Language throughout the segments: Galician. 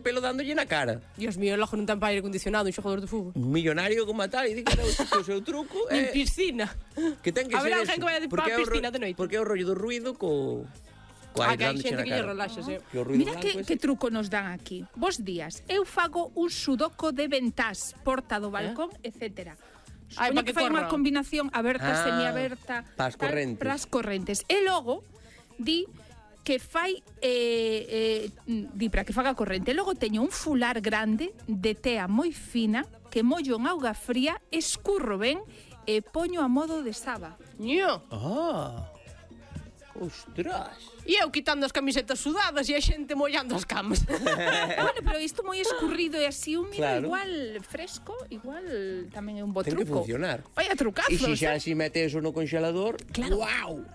pelo dándolle na cara. Dios mío, logo non ten para aire acondicionado un xogador de fútbol. Un millonario como tal, e di que era o seu truco. Nin piscina. Que ten que A ver, ser alguén eso. que vaya para a piscina de noite. Porque é o rollo do ruido co Que hai dándoche xente na que lle cara. relaxa, sí. Que o ruido Mira blanco que truco nos dan aquí. Bos días, eu fago un sudoku de ventás, porta do balcón, etcétera. Ai, Supoño pa que que fai unha corra. combinación aberta, semiaberta, Pas correntes. pras correntes. E logo di que fai di para que faga corrente. Logo teño un fular grande de tea moi fina que mollo en auga fría, escurro ben e poño a modo de saba. Ño. Ostras. E eu quitando as camisetas sudadas e a xente mollando as camas. Bueno, pero isto moi escurrido e así húmido, Claro. igual fresco, igual tamén é un bo Ten que truco. funcionar. Vaya trucazos. E se xa así mete eso no congelador, Claro. Wow.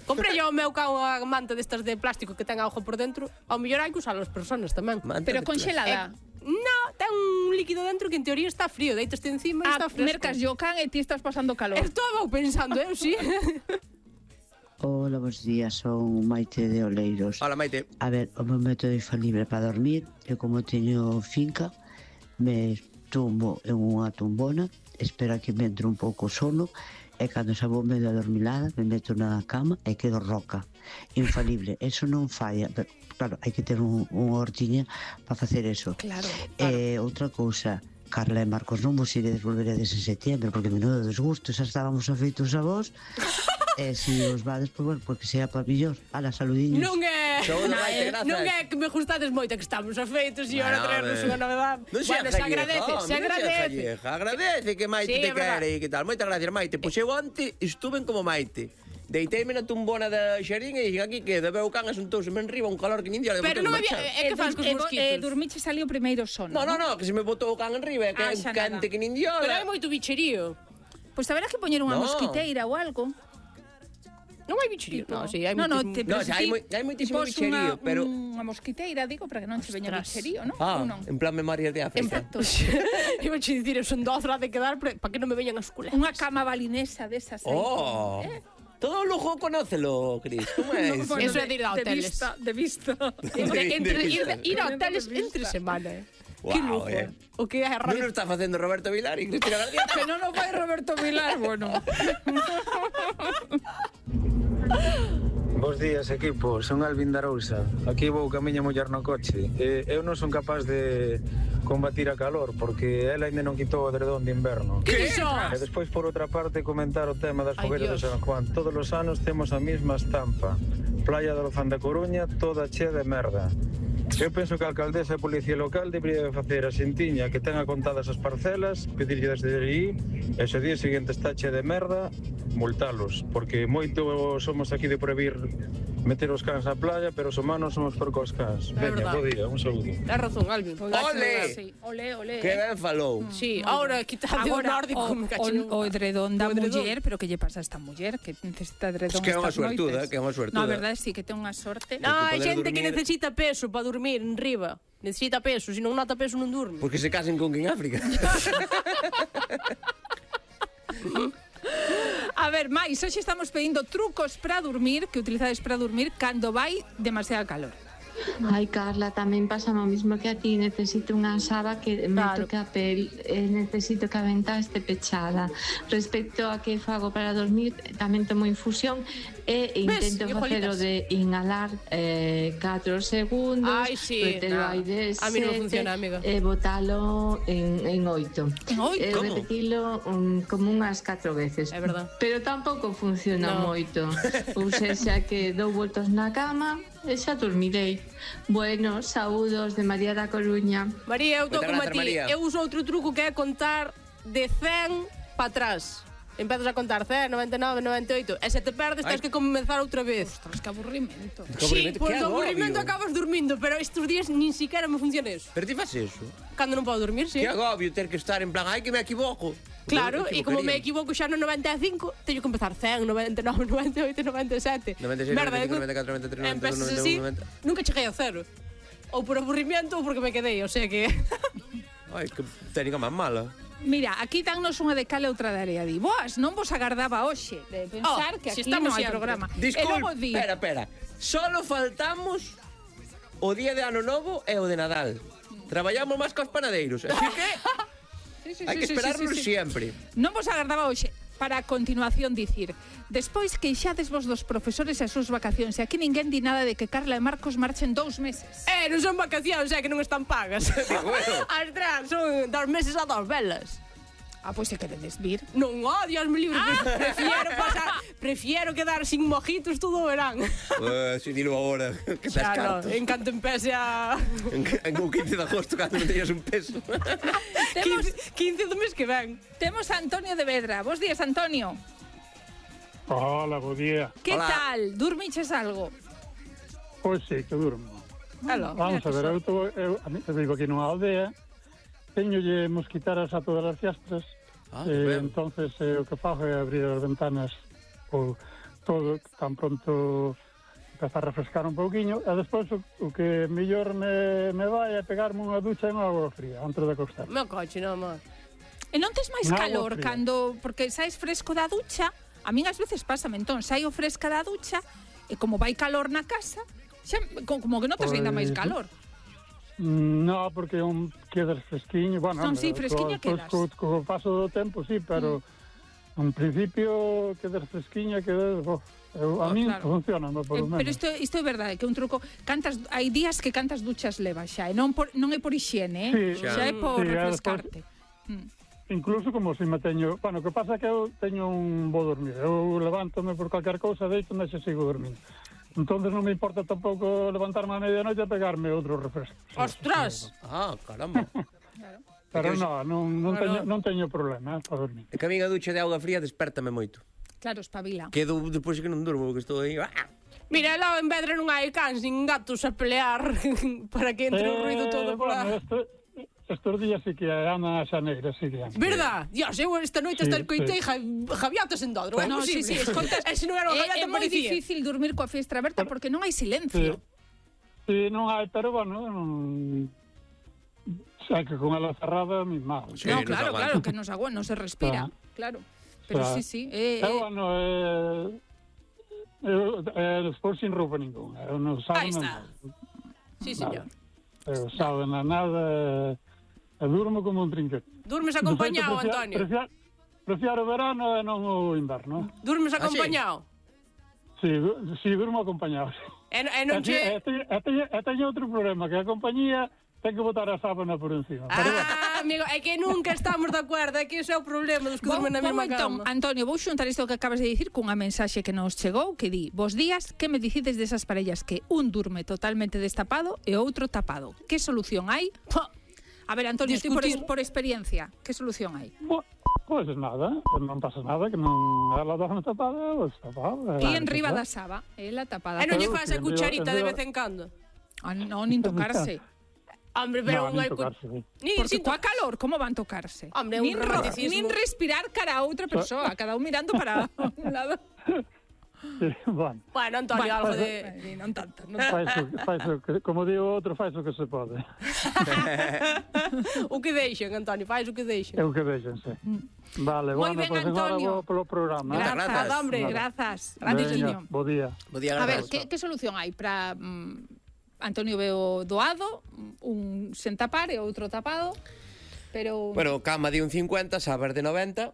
Comprei ao meu cão unha manta destas de plástico que ten auga por dentro. Ao mellor hai que usar as persoas tamén. Manta Pero de conxelada. No, ten un líquido dentro que en teoría está frío. Deitas encima e está fresco. Mercas yo can e ti estás pasando calor. Estaba pensando, eu sí. Hola, bons días, son Maite de Oleiros. Hola, Maite. A ver, o meu método infalible para dormir, eu como teño finca, me tumbo en unha tumbona, espero que me entre un pouco sono, e cando xa vou medio adormilada, me meto na cama e quedo roca. Infalible, eso non falla, pero claro, hai que ter unha hortiña para facer eso. Claro. Outra cousa, Carla e Marcos, non vos iredes volveredes en setembro, porque menudo desgusto, xa estábamos afeitos a vos. E se os vades, pois bueno, porque sea para millor. Ala, saludiños. Non é... Saúde, Maite, grazas. Non é que me gustades moito, que estamos afeitos e ahora traernos unha novedade. Non sea Bueno, se agradece, se agradece. Agradece que Maite Sí, te é verdad. quere e que tal. Moitas gracias, Maite. Pois eu onte estuve como Maite. Deiteime na tumbona da xarín e dixen aquí que debeu can asuntouseme en riba un calor que nin día. Pero non había... É que faz cos mosquitos. Dormiche salió o primeiro sono. No, que se me botou o can en riba e que xa cante nada. que nin día. Pero hai moito bicherío. Pois haberá que poñer unha No. mosquiteira ou algo. Non hai bicherío. No, sí, hai No, moitísimo. No, xa hai moitísimo bicherío, pero... Unha mosquiteira, digo, para que non se veña Ostras. bicherío, non? Ah, Ou non? en plan memorias de África. Exacto. Iba a dicir, eu son dozra de quedar para que non me veñan as culas. Unha cama balinesa desas aí. Oh. Todo lujo conócelo, Cris. Como é No, eso? Eso é de ir a hoteles. De vista. Ir a hoteles entre semana. Que Guau, lujo. O que é a Non radio. o está facendo Roberto Vilar e Cristina García. Que non o fai Roberto Vilar, bueno. Bos días, equipo. Son Alvin da Arousa. Aquí vou camiña mullar no coche. Eu non son capaz de combatir a calor porque ela ainda non quitou o edredón de inverno. Que iso? E despois, por outra parte, comentar o tema das Ai, fogueiras de Dios. San Juan. Todos os anos temos a mesma estampa. Playa do Lozán da Coruña, toda chea de merda. Eu penso que a alcaldesa e a policía local debería facer a xentiña que tenga contadas as parcelas, pedirlle desde aí, e se o día seguinte está chea de merda, multalos, porque moito somos aquí de prohibir meter os cans na playa, pero os humanos somos por cos cans. Veña, verdad. bo día, un saúdo. Tens razón, Alvin. Ole! Sí, ole, ole. Que ben falou. Sí, ahora quitade o nórdico me cachín. o edredón da O edredón. muller, pero que lle pasa a esta muller que necesita edredón Es que é unha estas suertuda, noites. que é unha suertuda. No, a verdade sí que ten unha sorte. No, hai poder xente que dormir. necesita peso para dormir en riba. Necesita peso, se non nota peso non durme. Porque se casen con quen África. A ver, máis, hoxe estamos pedindo trucos para dormir, que utilizades para dormir cando vai demasiada calor. Ai, Carla, tamén pasa o mismo que a ti. Necesito unha saba que me Claro. toque a pel. Necesito que a ventá este pechada. Respecto a que fago para dormir, tamén tomo infusión e intento facelo Hijolitas. de inhalar 4 segundos, Ai, sí, metelo no. aire A mí non funciona, amiga. e botalo en 8. En oito? Como? Repetilo como unhas 4 veces. É verdad. Pero tampouco funciona No. moito. Ou seja que dou voltas na cama e xa dormirei. Bueno, saúdos de María da Coruña. María, eu estou Moitas como a grazas, ti. María. Eu uso outro truco que é contar de 100 para atrás. Empezas a contar 100, 99, 98 e se te perdes tens que comenzar outra vez. Ostras, que aburrimento. Que Sí, aburrimento, pois que do aburrimento agobio. acabas dormindo, pero estes días nin siquiera me funciona eso. Pero ti faz eso. Cando non podo dormir, sí. Que agobio ter que estar en plan, ai que me equivoco. Claro, Eu e como me equivocaría. equivoco xa no 95, teño que empezar 100, 99, 98, 97. 96, Merda, 95, 94, 93, 92, empezas 91, así, 90. nunca cheguei a cero. Ou por aburrimiento ou porque me quedei, o sea que... Ai, que técnica máis mala. Mira, aquí dannos unha de cal e outra de area. Di, boas, non vos agardaba hoxe de pensar Oh, que si aquí estamos non hai sempre. programa. E Disculpe, logo di, espera. Solo faltamos o día de Ano Novo e o de Nadal. Traballamos máis cos panadeiros, así que hai que esperarnos sempre. Non vos agardaba hoxe para a continuación dicir despois queixades vos dos profesores e as súas vacacións e aquí ninguén di nada de que Carla e Marcos marchen 2 meses. Non son vacacións, que non están pagas. Bueno. Astras, son 2 meses a 2 velas. Pois se queredes vir. Non, Dios me libre. Prefiero quedar sin mojitos todo o verán. Si dilo agora, que te Claro, cartos. en canto empece a... En o 15 de agosto, cando non teñas un peso. 15 do mes que ven. Temos a Antonio de Vedra. Bos días, Antonio. Hola, bo día. Que Hola. tal? Durmiches algo? Pois sí, que durmo. Aló. Vamos a ver, eu vivo aquí nunha aldea, teñolle mosquitaras a todas as fiestras, Ben. entonces o que fago é abrir as ventanas ou todo, tan pronto empeza a refrescar un pouquiño, e despois o que mellor me vai é pegarme unha ducha en agua fría, antes de acostar. Meu coche, non, amor. E non tes máis Agua calor fría. cando... Porque saes fresco da ducha, a min ás veces pásame, entón, saio fresca da ducha, e como vai calor na casa, xa, como que notas ainda máis calor. No, porque quedas fresquiño, bueno, Non, sí, fresquiña quedas. Co paso do tempo, sí, pero en principio quedas fresquiña, a min claro. funciona, por lo menos. Pero isto é verdade, que é un truco. Hai días que cantas duchas levas xa, e non é por hixiene, Sí, xa é por sí, refrescarte. Incluso como se me teño... Bueno, o que pasa é que eu teño un bo dormir. Eu levántome por calquer cousa, deito, e xa sigo dormindo. Entonces non me importa tampouco levantarme a medianoite a pegarme outro refresco. Ostras! Caramba. Pero non teño problema para dormir. É que a min a ducha de auga fría despertame moito. Claro, espabila. Quedo depois que non durmo, porque estou aí... Mira, lá en Vedra non hai cans nin gatos a pelear para que entre o ruido todo por Bueno, lá. estes días sí que andan a xaneira, sí que andan. Verdad? Dios, eu esta noite hasta escoitei javiotas en Dodro. É No, sí, posible. escoltas, E se non era o javiata, é moi parecía. difícil dormir coa fiestra aberta porque non hai silencio. Sí, non hai, pero bueno, xa que con ela cerrada, mi mal. Sí, No, nos claro, aguanta. claro, que non se aguanta, non se respira. Claro. Pero Claro. sí. Pero bueno, despois sin roupa ninguna. Eu non Aí sabe está. nada. Sí, señor. Eu sabe nada, e durmo como un trinquete. Durmes acompañado, De feito, Antonio. Prefiero o verano e non o inverno. Durmes sí? acompañado. Sí, durmo acompañado. E non che... Teño outro problema, que a compañía ten que botar a sábana por encima. Pero bueno, Amigo, é que nunca estamos de acordo, é que ese é o problema dos que dormen na mesma entón, cama. Antonio, vou xuntar isto que acabas de dicir cunha mensaxe que nos chegou que di: "Bos días, que me dicides desas parellas que un durme totalmente destapado e outro tapado? Que solución hai?" A ver, Antonio, ti Discutir. por experiencia, que solución hai? pois nada, non pasa nada, que non ela dorme tapada, ou tapada. E en riba da saba, ela tapada. E non lle Pero faz sí, a cucharita de en riba- vez en cando. Non, nin tocarse. Hombre, pero Non, unha... nin tocarse, sí. Porque coa calor, como van tocarse? Hombre, un romanticismo. Nin respirar cara a outra persoa, cada un mirando para un lado. Sí, bueno. Bueno, Antonio, algo de... Non tanto, non Fais o que, como digo outro, fais o que se pode. O que deixen, Antonio, faz o que deixen. É o que deixen, sí. Vale, Moi bueno, ben, pois agora Antonio. vou polo programa. Grazas. Grazas, hombre. Grazas. Veña, Antiquiño. bo día. Bo día, A ver, grazas. que solución hai para Antonio veo doado, un sen tapar e outro tapado, pero... Bueno, cama de un 50, sabas de 90.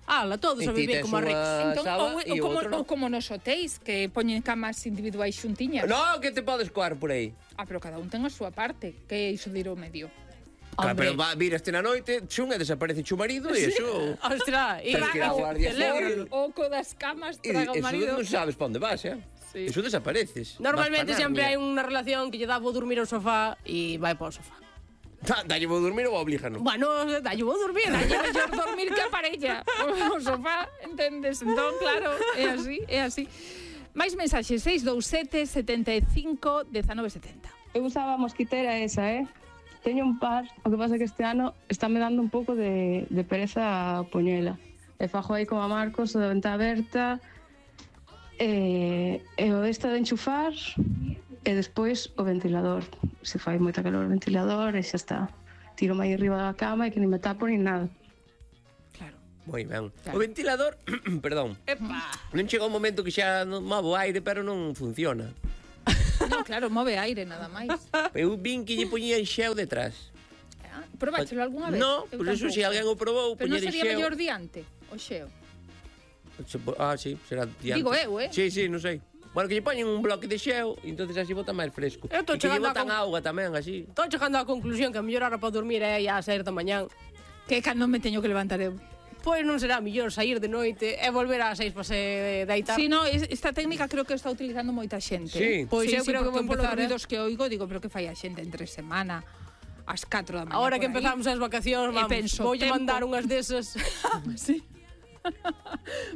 Ala, todos E a ti vivir tes como a unha Rex. Entón, saba e o como, outro non. como nos hotéis, que poñen camas individuais xuntiñas. No, que te podes coar por aí. Pero cada un ten a súa parte, que é iso de ir ao medio. Claro, Hombre. pero viraste na noite, chun e desaparece chu marido e iso... Ostras, e Tens que ir á Guardia Civil. O oco das camas E traga o eso marido. non sabes pa onde vas, Sí. Eso desapareces. normalmente Vas pa sempre hai Narnia. unha relación que lle dá vou dormir ao sofá e vai para o sofá. Dalle vou dormir ou oblígano. Bueno, dalle vou dormir. Dalle mellor dormir que a parella. O sofá, entendes? Entón, claro, é así, é así. Mais mensaxes, 627 75 1970. Eu usaba a mosquitera esa, Teño un par, o que pasa que este ano está me dando un pouco de pereza a poñela. E fajo aí como a Marcos, o da venta aberta, e o desta de enchufar, e despois o ventilador. Se fai moita calor o ventilador, e xa está. Tiro máis arriba da cama e que ni me tapo ni nada. Claro. Moi ben. Claro. O ventilador, perdón, Epa. non chega un momento que xa non move o aire, pero non funciona. claro, move aire nada máis. Eu vin que lle poñían xeo detrás. Probáchelo algunha vez? No, Eu pois eso, tampouco. se alguén o probou, Pero non poñer sería xeo. mellor diante, o xeo. Sí, será diante. Digo eu, Sí, non sei. Bueno, que lle poñen un bloque de xeo e entonces así bota máis fresco. Eu tô E que lle chegando a botan auga tamén, así. Estou chegando á conclusión que a mellor hora para dormir é a 6 da mañán. Que cando me teño que levantar eu. Pois non será mellor sair de noite e volver ás 6 para se deitar. Si, no, esta técnica creo que está utilizando moita xente. Sí. Pois eu creo que vou polos empezar, ruidos que oigo, digo, pero que fai a xente entre semana ás 4 da mañá. Ahora que por aí. empezamos as vacacións, vamos, penso, voulle tempo. mandar unhas desas. Sí.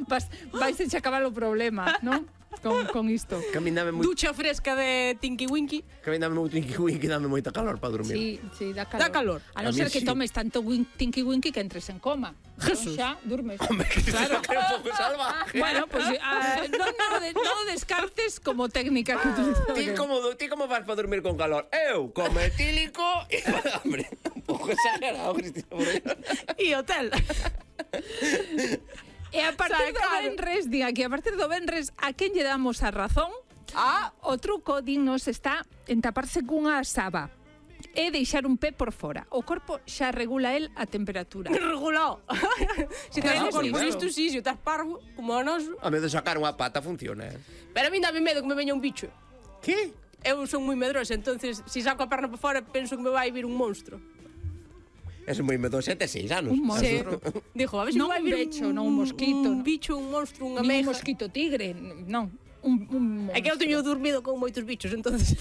Vais a acabar o problema, non? Con isto. Camíname moi... Ducha fresca de Tinky Winky. Camíname moito Tinky que dame moita calor para dormir. Sí, dá calor. Dá calor. A non A mí ser que sí. tomes tanto Tinky Winky que entres en coma. Jesús. Xa, durmes. Claro. Que é un pouco salvaje. Bueno, pues non o descartes como técnica que utilizamos. Ti como vas para dormir con calor? Eu, como etílico e... Hombre, un pouco exagerado, Cristina Moreno. E hotel. E a partir do Claro. Benres, diga que a partir do Benres, a quen lle damos a razón? O truco, dinnos, está en taparse cunha saba e deixar un pé por fora. O corpo xa regula el a temperatura. Regulado. Se tens Claro, un corpo sí, listo, sí, se estás parvo, como o noso. A medo de sacar unha pata funciona, Pero a mí dame medo que me veña un bicho. Que? Eu son moi medrosa, entonces se saco a perna para fora penso que me vai vir un monstro. Es moi medoso, 7, 6 anos. Un Sí. monstro. Dijo, a ver se Non me vai un vir becho, non un mosquito, un non. bicho, un monstro, unha Nin un meja. mosquito tigre, non. Un É que eu teño dormido con moitos bichos, entonces.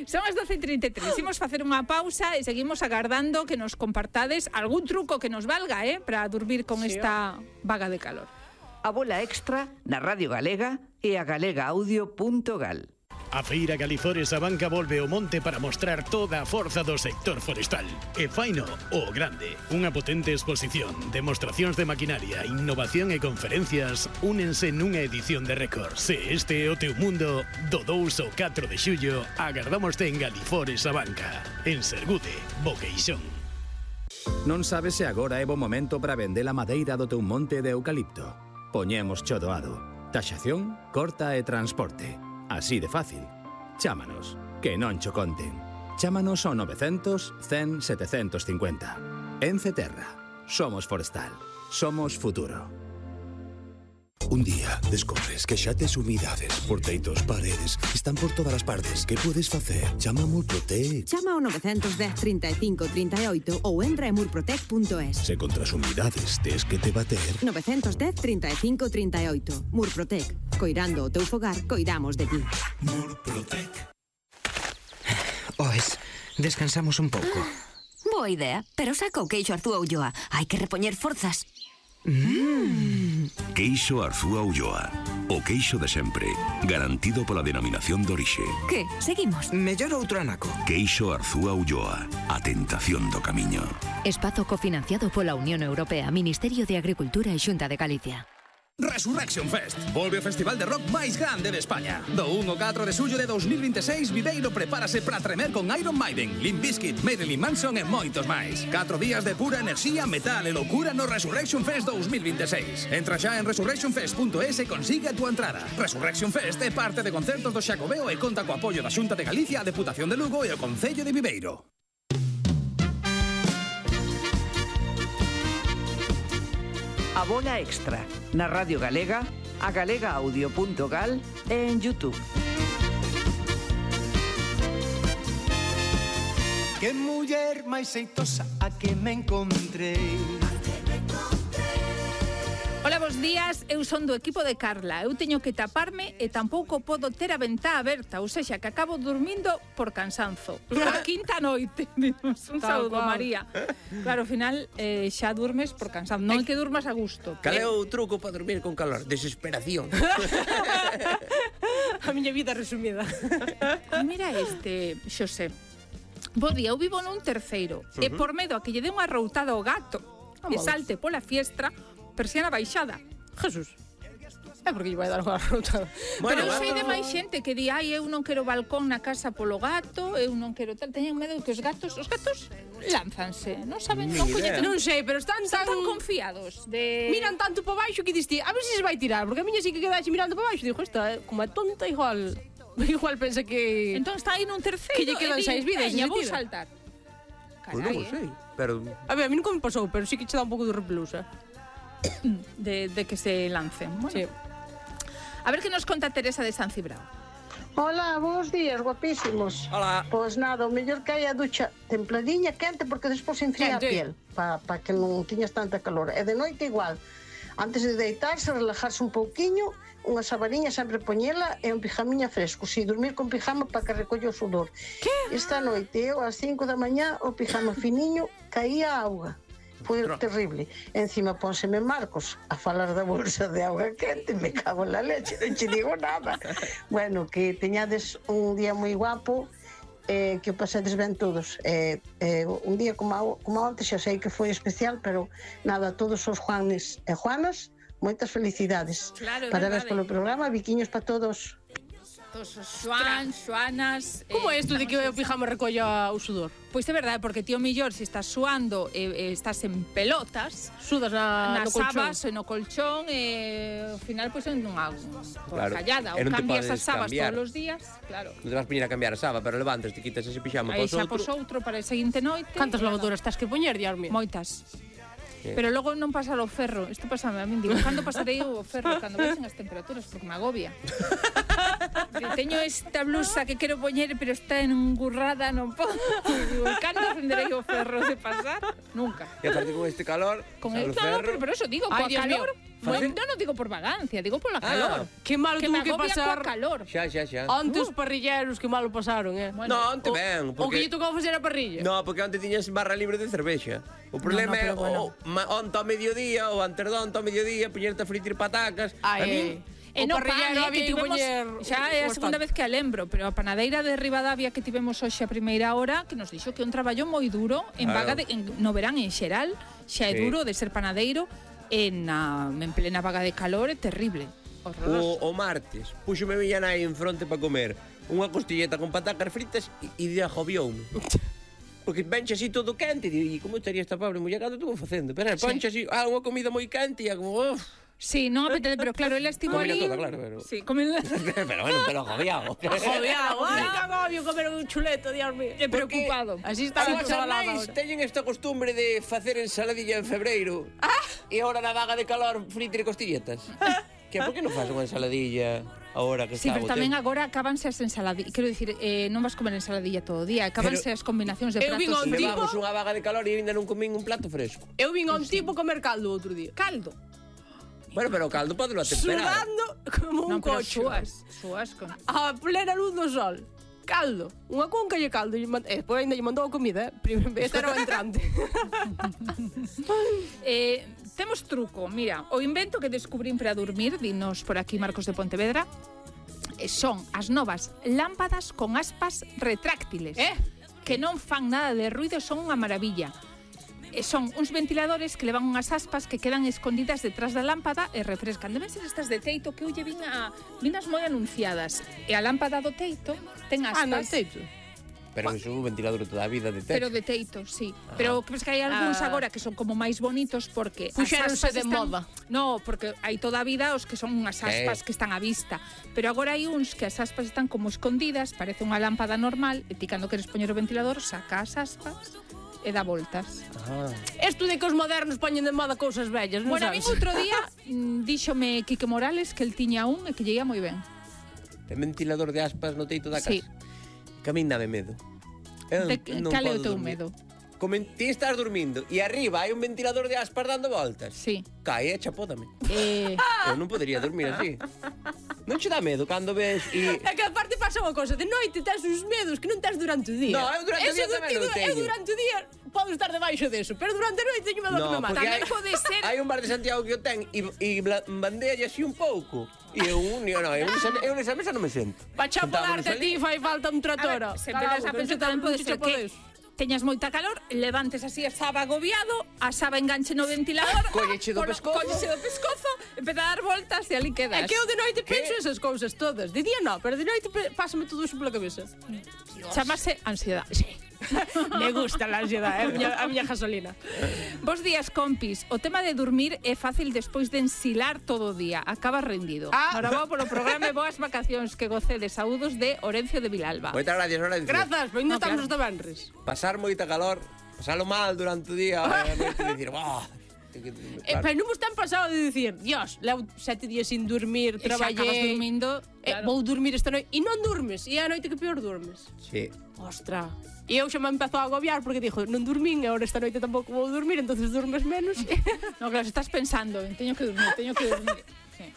Son as 12:33. Imos facer unha pausa e seguimos agardando que nos compartades algún truco que nos valga, para dormir con esta vaga de calor. A bola extra na Radio Galega e a galegaaudio.gal. A Feira Galizores a Banca volve ao monte para mostrar toda a forza do sector forestal. E faino o grande. Unha potente exposición, demostracións de maquinaria, innovación e conferencias únense nunha edición de récord. Se este é o teu mundo, do 2 ao 4 de xullo, agardámoste en Galizores a Banca. En Sergude, Boqueixón. Non sabes se agora é bo momento para vender a madeira do teu monte de eucalipto. Poñemos cho doado. Taxación, corta e transporte. Así de fácil. Chámanos, que non cho conten. Chámanos ao 900 100 750. Ence Terra. Somos forestal. Somos futuro. Un día descubres que xa tes humidades por teitos, paredes, están por todas as partes. Que podes facer? Chama a Murprotec. Chama ao 910 35 38 ou entra en murprotec.es. Se contra as humidades tes que te bater. 910 35 38. Murprotec. Coirando o teu fogar, coidamos de ti. Murprotec. Oes, descansamos un pouco. Boa idea, pero saca o queixo Arzúa Ulloa. Hai que repoñer forzas. Queixo Arzúa Ulloa. O queixo de sempre. Garantido pola denominación de orixe. Que? Seguimos. Mellor outro anaco. Queixo Arzúa Ulloa. A tentación do camiño. Espazo cofinanciado pola Unión Europea, Ministerio de Agricultura e Xunta de Galicia. Resurrection Fest. Volve o festival de rock máis grande de España. Do 1 ao 4 de xullo de 2026, Viveiro prepárase para tremer con Iron Maiden, Limp Bizkit, Marilyn Manson e moitos máis. 4 días de pura enerxía, metal e locura no Resurrection Fest 2026. Entra xa en resurrectionfest.es e consigue a túa entrada. Resurrection Fest é parte de concertos do Xacobeo e conta co apoio da Xunta de Galicia, a Deputación de Lugo e o Concello de Viveiro. A bola extra na Radio Galega, a galegaaudio.gal e en YouTube. Que muller máis xeitosa a que me encontrei. Ola, bos días, eu son do equipo de Carla. Eu teño que taparme e tampouco podo ter a ventá aberta, ou sexa, que acabo dormindo por cansanzo. A quinta noite. Un saúdo, María. Claro, ao final xa durmes por cansanzo. Non é que durmas a gusto. Cal é o truco para dormir con calor? Desesperación. A miña vida resumida. Mira este, Xosé. Bo día, eu vivo nun terceiro e por medo a que lle dé unha routada ao gato e salte pola fiestra, persiana baixada. Jesús. É porque lle vai dar unha routada. Pero eu sei de máis xente que di, ai, eu non quero balcón na casa polo gato, eu non quero tal. Teñen medo que os gatos lánzanse, non saben, non coñecen. Non sei, pero están tan confiados de... Miran tanto para baixo que diste, a ver se se vai tirar, porque a miña sí que quedaxe mirando para baixo, digo, esta, como é tonta, igual Igual pensa que... Entón está aí nun terceiro. Que lle quedan 6 vidas. Veña, vou tira. saltar. Pois non o sei, pero... A ver, a mí nunca me pasou, pero sí que che dá un pouco de repelusa. De que se lancen. Bueno. Sí. A ver que nos conta Teresa de San Cibrao. Hola, buenos días, guapísimos. Hola. Pois nada, o mellor que hai a ducha templadiña, quente, porque despois enfría a piel, para que non tiñas tanta calor. E de noite igual. Antes de deitarse, relajarse un pouquiño, unha sabariña sempre poñela e un pijamiña fresco. Si, dormir con pijama para que recolle o sudor. Que? Esta noite, eu ás 5 da mañá, o pijama finiño, caía a auga. Foi terrible. Encima pónseme Marcos a falar da bolsa de auga quente, me cago en la leche, non che digo nada. Bueno, que teñades un día moi guapo, que o pasedes ben todos. Un día como antes, xa sei que foi especial, pero nada, todos os Juanes e Juanas, moitas felicidades. Claro, parabéns polo programa, biquiños para todos. Todos os Xuanas... Como é isto de que o pijama recolla o sudor? Pois é verdade, porque ti o millor, se estás suando e estás en pelotas, sudas nas no colchón. sabas e no colchón, e ao final, pois, en unha callada. Ou E non te cambias podes as sabas cambiar. todos os días, claro. Non te vas poñer a cambiar a saba, pero levantas, te quitas ese pixama Aí pos xa outro. pos outro para a seguinte noite. Cantas lavadoras estás que poñer, Dios mío? Moitas. Sí. Pero logo non pasar o ferro. Isto pasame a min, digo, cando pasarei o ferro? Cando vexen as temperaturas, porque me agobia. Teño esta blusa que quero poñer, pero está engurrada, non podo. Digo, cando aprenderei o ferro de pasar? Nunca. E aparte con este calor, Con el el, ferro... pero eso digo, Ay, coa Dios mío. calor. Non digo por vagancia, digo pola calor. Que malo que tuvo me que agobia pasar. coa calor. Xa. Antes os parrilleros que malo pasaron, Bueno, No, onte ben, O que porque... lle tocou facer a parrilla. No, porque onte tiñas barra libre de cervexa. O problema é pero bueno. onte ao mediodía, ou antes de onte ao mediodía, poñerte a fritir patacas. A min... E O no parrillero pan, había que que tivemos, poñer xa é a o segunda bastante. vez que a lembro, pero a panadeira de Ribadavia que tivemos hoxe a primeira hora, que nos dixo que é un traballo moi duro en Claro. vaga no verán en xeral, xa é Sí. duro de ser panadeiro en plena vaga de calor, é terrible. Horroroso. O martes, puxome miña nai en fronte para comer unha costilleta con patacas fritas e de agobioume. Porque venche así todo quente e como estaría esta pobre muller cando estuvo facendo? Pero ponche así, unha comida moi quente e como... Sí, non apetece, pero claro, ela estivo Comela ali. toda, claro, pero... Sí, comela. pero bueno, pero agobiado. Agobiado, ai, que agobio comer un chuleto, Dios mío. É preocupado. Así está As a chavalada nais ahora. teñen esta costumbre de facer ensaladilla en febreiro. E ahora na vaga de calor fritir costilletas. Que por que non faz unha ensaladilla agora que Sí, está pero o tamén tempo? agora acabanse as ensaladillas. Quero dicir, non vas comer ensaladilla todo o día, acabanse as combinacións de Eu vin pratos. un tipo- Levamos unha vaga de calor e ainda non comín un plato fresco. Eu vin a un tipo comer caldo outro día. Caldo. Bueno, pero o caldo podelo atemperar. Sudando como un Non, pero cocho. súas con... A plena luz do sol. Caldo. Unha cunca lle caldo. Despois ainda lle mandou a comida, Este era o entrante. Temos truco, mira, o invento que descubrín para dormir, dinos por aquí Marcos de Pontevedra, son as novas lámpadas con aspas retráctiles, que non fan nada de ruido, son unha maravilla. Son uns ventiladores que levan unhas aspas que quedan escondidas detrás da lámpada e refrescan. Deben ser estas de teito que eu lle vinas moi anunciadas. E a lámpada do teito ten aspas. no teito. Pero iso é un ventilador toda a vida de techo. Pero de teito, sí. Pero crees que hai algúns agora que son como máis bonitos porque as Puxéronse aspas de están... moda. No, porque hai toda a vida os que son unhas aspas que están á vista. Pero agora hai uns que as aspas están como escondidas, parece unha lámpada normal, e ti cando queres poñer o ventilador, saca as aspas e dá voltas. Isto de que os modernos poñen de moda cousas vellas, non Bueno, a mí sabes? outro día díxome Quique Morales que el tiña un e que lle ia moi ben. Ten ventilador de aspas no teito da casa. Sí. Que a min dame medo. Eu non Cal é o podo teu dormir. medo? Ti estás dormindo e arriba hai un ventilador de aspas dando voltas. Sí. Cae e chapódame. Eu non podería dormir así. Non che dá medo cando ves e... É que aparte pasa unha cosa, de noite tes uns medos que non tes durante o día. No, eu durante o día tamén o teño. Eu durante o día podo estar debaixo deso, pero durante a noite teño medo que me mate. porque Tamén pode ser... hai un bar de Santiago que o ten e bandealle así un pouco. E eu nesa mesa non me sento. Pa chapolarte a ti fai falta un tratora. Se empezas a pensar tamén pode ser que teñas moita calor, levantes así a saba agobiado, a saba enganche no ventilador, Colleche do pescozo. Colleche do pescozo, empeza a dar voltas e ali quedas. É que eu de noite penso esas cousas todas. De día non, pero de noite pásame todo iso pola cabeza. Chamase ansiedade. Sí. Me gusta la ansiedade, a miña gasolina. Bos días, compis. O tema de dormir é fácil despois de ensilar todo o día. Acaba rendido. Ahora polo programa e boas vacacións que gocé de saúdos de Orencio de Vilalba. Moitas gracias, Orencio. Grazas, pois non estamos de Benres. Pasar moita calor, pasalo mal durante o día, e dicir, pero non vos tan pasado de dicir, Dios, levo 7 días sin dormir, traballei, acabas dormindo, vou dormir esta noite, e non durmes, e é a noite que peor durmes. Sí. Ostra. E eu xa me empezou a agobiar porque dixo, non dormín, e agora esta noite tampouco vou dormir, entonces dormes menos. No, claro, estás pensando, teño que dormir. Sí,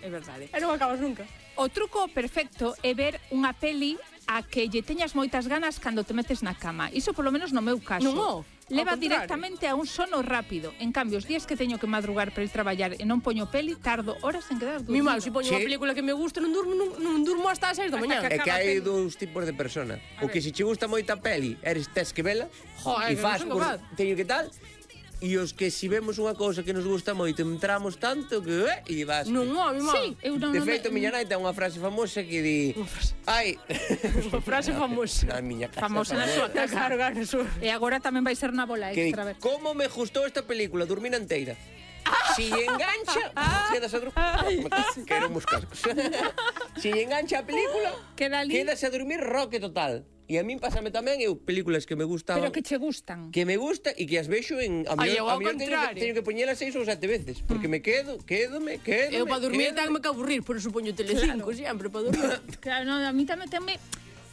é verdade. E non acabas nunca. O truco perfecto é ver unha peli a que lle teñas moitas ganas cando te metes na cama. Iso polo menos no meu caso. Non, leva directamente a un sono rápido. En cambio, os días que teño que madrugar para ir traballar e non poño peli, tardo horas en quedar dormida. Mi mal, se poño unha película que me gusta, non durmo hasta as 6 da mañá. É que hai dous tipos de persona. O que se che gusta moita peli, tes que vela, e faz, teño que tal, e os que si vemos unha cousa que nos gusta moito, entramos tanto que e vas. Non, mi mal. Sí, de feito, miña nai ten unha frase famosa que di, ai, unha frase famosa. Na miña casa. Famosa na súa casa. Claro, E agora tamén vai ser na bola extra. Como me gustou esta película, dormir enteira. Si engancha, quedas a dormir. Quero uns cascos. Si engancha a película, quedas a dormir roque total. E a min pásame tamén películas que me gustan. Pero que che gustan. Que me gusta e que as vexo en a mellor teño que poñelas 6 ou 7 veces, porque me quedo. Eu para dormir tengo que aburrir, por eso poño Telecinco sempre para dormir. Claro, no, a mí tamén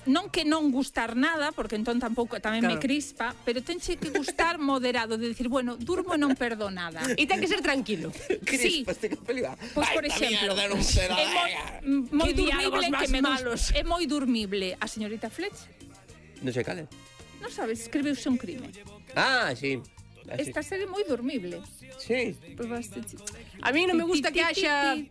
non que non gustar nada, porque entón tampouco tamén me crispa, pero tenche que gustar moderado, de decir, bueno, durmo e non perdo nada. E ten que ser tranquilo. Crispa, este capelga. Pois, por exemplo, moi dormible que me gusta. É moi dormible a señorita Fletcher. Non sei cal é. Non sabes, escribiuse un crime. Ah, sí. Esta serie é moi dormible. Sí. A mí non me gusta que haxa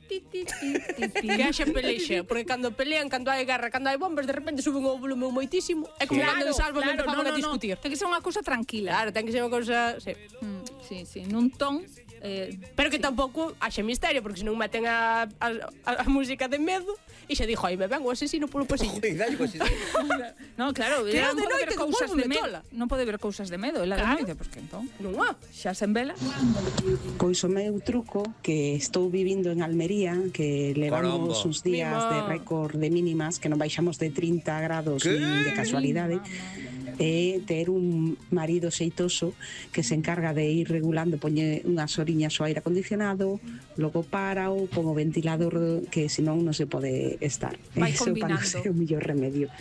pelexa, porque cando pelean, cando hai guerra, cando hai bombas, de repente suben o volume moitísimo. É como cando en Sálvame empezaban a discutir. Ten que ser unha cousa tranquila. Claro, ten que ser unha cousa... Sí, nun ton... Pero que tampouco haxa misterio, porque senón meten a música de medo e xa dixo, ai, me ven o asesino polo pasillo. No, claro, non pode ver cousas de medo. Non pode ver cousas de medo, ela de noite, porque entón... Non xa se envela. Pois o meu truco, que estou vivindo en Almería, que levamos uns días de récord de mínimas, que non baixamos de 30 grados de casualidade, é ter un marido xeitoso que se encarga de ir regulando, poñe unhas horiñas ao aire acondicionado, logo párao, pon o ventilador, que senón non se pode estar. Vai Eso combinando. para ser o mellor remedio.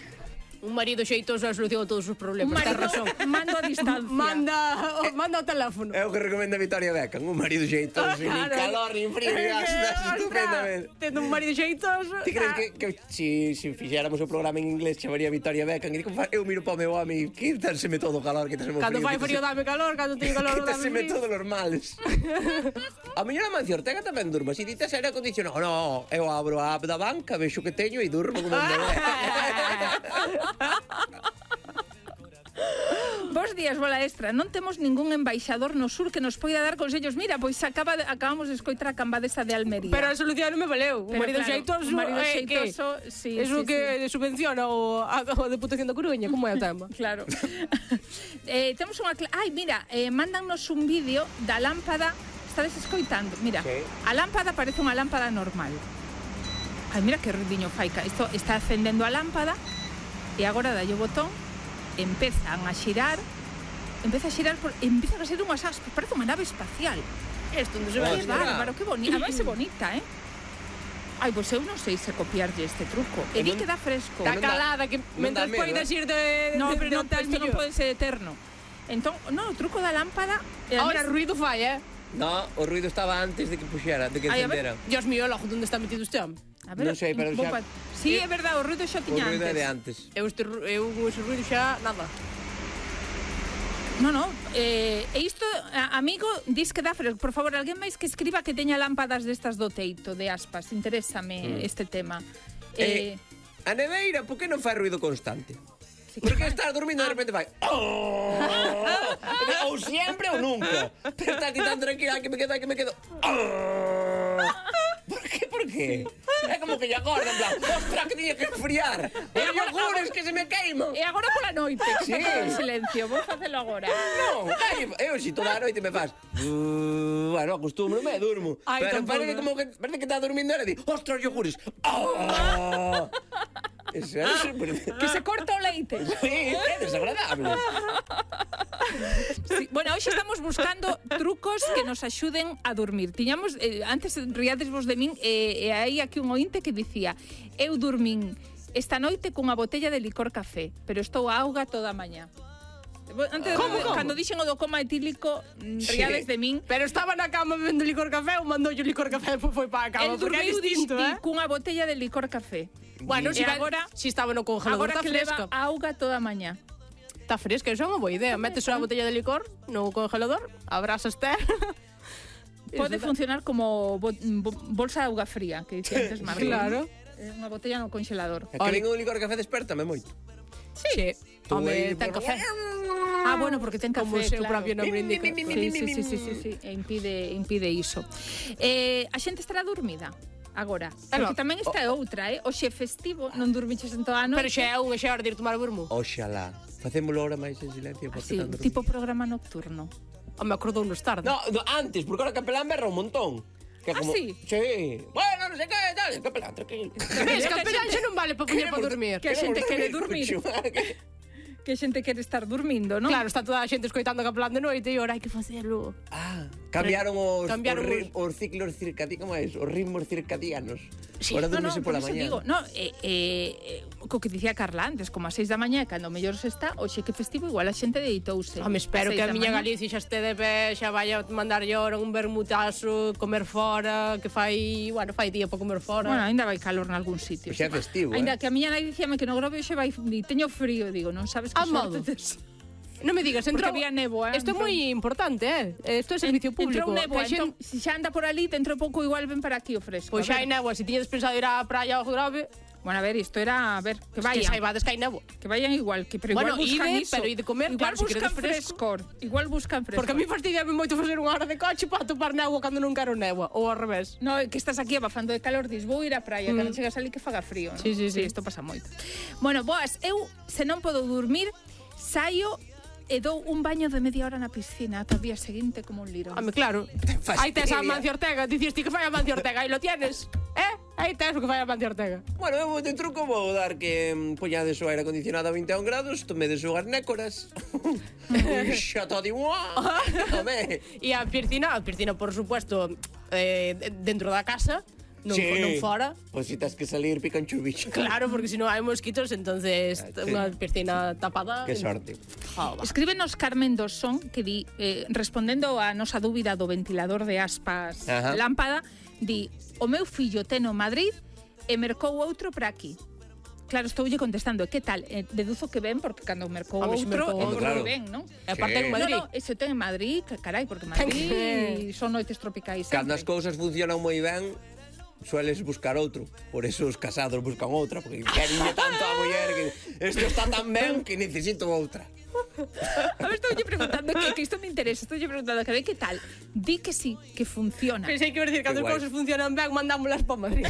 Un marido xeitoso é a solución a todos os problemas. Un marido, mando a distancia. Manda o teléfono. É o que recomenda Victoria Beckham. Un marido xeitoso, nin calor, nin frío, estás estupendamente. Tendo un marido xeitoso... Ti crees que si fixéramos o programa en inglés chamaría Victoria Beckham? E eu miro para o meu home e quítaseme todo o calor, quítaseme o frío. Cando fai frío dame calor, cando teño calor dame frío. Quítaseme todos os males. A miña Amancio Ortega tamén durma. Si dites aire acondicionado, no, eu abro a app da banca, vexo que teño e durmo como un bebé. Bos días, bola extra. Non temos ningún embaixador no sur que nos poida dar consellos. Mira, pois acabamos de escoitar a cambadesa de Almería. Pero a solución non me valeu. Un marido xeitoso, un marido xeitoso, sí. Eso que subvenciona a Deputación da Coruña, como é o tema? Claro. Temos unha... Ai, mira, mándanos un vídeo da lámpada. Estades escoitando? Mira, a lámpada parece unha lámpada normal. Ai, mira que ruidiño faica. Isto está acendendo a lámpada e agora dalle o botón. Empeza a xirar, empeza a ser unhas aspas, parece unha nave espacial. Isto non se ve. Que bárbaro, que bonita, a máis é bonita, Ai, pois eu non sei se copiarlle este truco. E di que dá fresco. Está calada, que mentre poidas ir de... No, pero isto non pode ser eterno. Entón, no, o truco da lámpada... Ahora, ruido fai, No, o ruido estaba antes de que puxera, de que encendera. Dios mío, logo, onde está metido este home? Non sei, pero xa... Sí, é verdade, o ruido xa tiña antes. O ruido é de antes. Eu ese ruido xa, nada. No, e isto, amigo, dis que dá fresco. Por favor, alguén máis que escriba que teña lámpadas destas do teito, de aspas. Interésame este tema. A neveira, por que non fai ruido constante? Porque estás dormindo e de repente fai... Ou sempre ou nunca. Pero estás ti tan tranquila que me quedo... ¿Por qué? É como que lle acorda, en plan, ostra, que tiña que enfriar. Os yogures que se me queiman. E agora pola noite, que está todo en silencio. Vou facelo agora. Non, eu si toda a noite me faz. Bueno, acostumbro e durmo. Pero parece que está dormindo e le di, ostra, os yogures. Eso é super... Que se corta o leite. Sí, é desagradable. Sí. Bueno, hoxe estamos buscando trucos que nos axuden a dormir. Tiñamos, antes riadesvos de min, e hai aquí un ointe que dicía: eu dormín esta noite cunha botella de licor café, pero estou a auga toda a mañá. Antes, cando dixen o do coma etílico, riades de min. Pero estaba na cama bebendo licor café ou mandou o licor café e depois foi para a cama, porque é distinto, cunha botella de licor café. Bueno, si estaba no congelador, está fresca. Agora que leva auga toda a mañá. Está fresca, eso é unha boa idea. Metes unha botella de licor no congelador, abrasaste. Pode funcionar como bolsa de auga fría, que dicía antes Marlon. Claro. Unha botella no congelador. É que ven un licor café despertame moito. Sí. Home, ten café. Bueno, porque ten café, como o seu propio nombre indica. Sí, impide iso. A xente estará dormida agora, porque tamén esta é outra, hoxe é festivo, non dormiches en toda a noite. Pero xa é unha hora de ir tomar vermú. Oxalá, facémolo ahora máis en silencio. Sí, tipo programa nocturno. Me acordou nos tarde. No, antes, porque ahora Capelán berra un montón. Sí? Sí. Bueno, non sei que, tal, Capelán, tranquilo. Capelán xa non vale para poñer para dormir. Que a xente quere dormir. Que a xente quere estar dormindo, non? Claro, está toda a xente escoitando Capelán de noite e ahora hai que facelo. Cambiaron os ciclos circadianos, como é? Os ritmos circadianos. Ahora dormese pola mañá. Co que dicía Carla antes, como a 6 da mañá, cando mellor se está, hoxe que festivo, igual a xente deitouse. Me espero que a miña Galicia xa este de pé, xa vaya a mandar llora un vermutazo, comer fora, que fai día para comer fora. Bueno, ainda vai calor nalgún sitio. Xa é festivo, Ainda que a miña nai dicíame que no Grove hoxe vai, teño frío, digo, non sabes que sorte tes. Non me digas, entrou... Porque había néboa. Isto é moi importante, Isto é servicio público. Entrou néboa, entón, se xa anda por ali, te entrou pouco, igual ven para aquí o fresco. Pois xa hai néboa, se tiñedes pensado ir á praia ao Grove... Bueno, a ver, isto era, que vayan. Que saibades que hai néboa. Que vayan igual, pero igual buscan iso. Pero ide comer, igual claro, buscan frescor. Igual buscan frescor. Porque a mí fastidiame moito facer unha hora de coche para topar néboa cando non quero néboa, ou ao revés. No, que estás aquí abafando de calor, dis, vou ir á praia, cando chegas ali que faga frío. Sí, isto pasa moito. Bueno, boas, eu, se non podo dormir, saio e dou un baño de media hora na piscina ata o día seguinte como un lirón. Claro. Aí tes a Mancio Ortega, dicías ti que fai a Mancio Ortega, aí lo tienes. Aí tes o que fai a Mancio Ortega. Bueno, eu de truco vou dar que poñades o aire acondicionado a 21 grados, tomedes unhas nécoras. Xa todo igual. E a piscina, por supuesto, dentro da casa. Non fora. Pois si tens que salir pican churbicho. Claro, porque se non hai mosquitos, entonces unha piscina tapada. Que sorte. Escríbenos Carmen Dosón, que di, respondendo a nosa dúbida do ventilador de aspas lámpada, di, o meu fillo ten no Madrid e mercou outro para aquí. Claro, estoulle contestando, que tal? Deduzo que ven, porque cando mercou outro, claro. Ben, non? E aparte en Madrid. No, ese ten en Madrid, carai, porque Madrid son noites tropicais. Cando as cousas funcionan moi ben, sueles buscar outro. Por eso os casados buscan outra, porque querenlle tanto a muller que isto está tan ben que necesito outra. A ver, estou preguntando que isto me interesa. Estou preguntando que tal. Di que sí, que funciona. Pensei que iba a decir que cando as cousas funcionan ben, mandámolas para Madrid.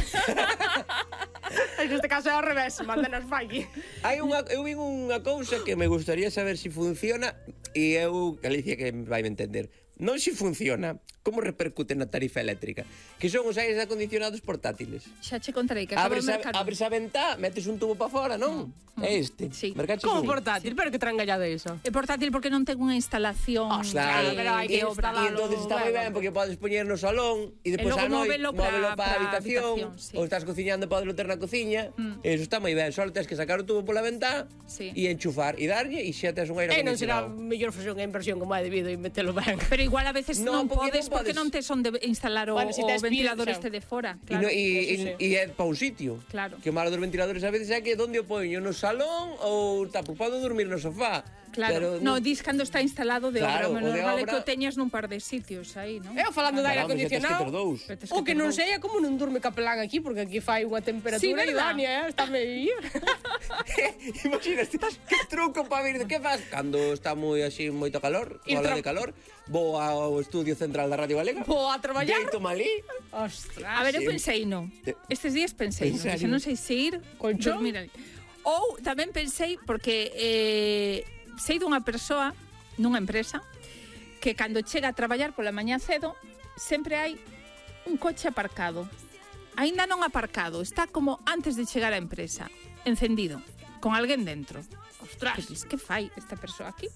Neste caso é ao revés, mándanos para aquí. Eu vi unha cousa que me gustaría saber se funciona e eu, Galicia, que vai me entender. Non se funciona, como repercute na tarifa eléctrica? Que son os aires acondicionados portátiles. Xa che contarei que acabo de mercar. Abres a ventá, metes un tubo para fora, non? É este. Sí. Como portátil? Pero que trangallada é iso? É portátil porque non ten unha instalación. Claro, pero hai que instalarlo. E entonces está moi ben porque podes poñer no salón e depois a noite móvelo para a habitación, ou estás cociñando podelo ter na cociña. Eso está moi ben, só tens que sacar o tubo pola ventá e enchufar e darlle e xa tes un aire acondicionado. Non será mellor facer unha inversión como é debido e metelo ben. Pero igual a veces non podes porque non tes onde instalar o ventilador este de fora. E é para un sitio. Claro. Que o malo dos ventiladores a veces é que onde o poño, no salón ou podo dormir no sofá. Claro, no, dis cando está instalado de Claro, obra, o de vale obra- que o teñas nun par de sitios aí, non? Eu falando de aire Caramba, xa tes que acondicionado, ter dous. o que non sei é como non durme capelán aquí, porque aquí fai unha Sí, temperatura verdad? idónea, está medio. Imagínate, que truco para vir, que faz? Cando está moi así, moito calor, Ir ola tra- de calor, vou ao estudio central da Radio Galega, Vou a traballar. deito malí, Ostras. A ver, eu Sí. pensei no. Estes días pensei En no, que serio? non sei se ir Colchón? dormir ali. Ou tamén pensei, porque sei dunha persoa nunha empresa que cando chega a traballar pola mañá cedo sempre hai un coche aparcado. Aínda non aparcado, está como antes de chegar á empresa, encendido, con alguén dentro. Ostras, que fai esta persoa aquí?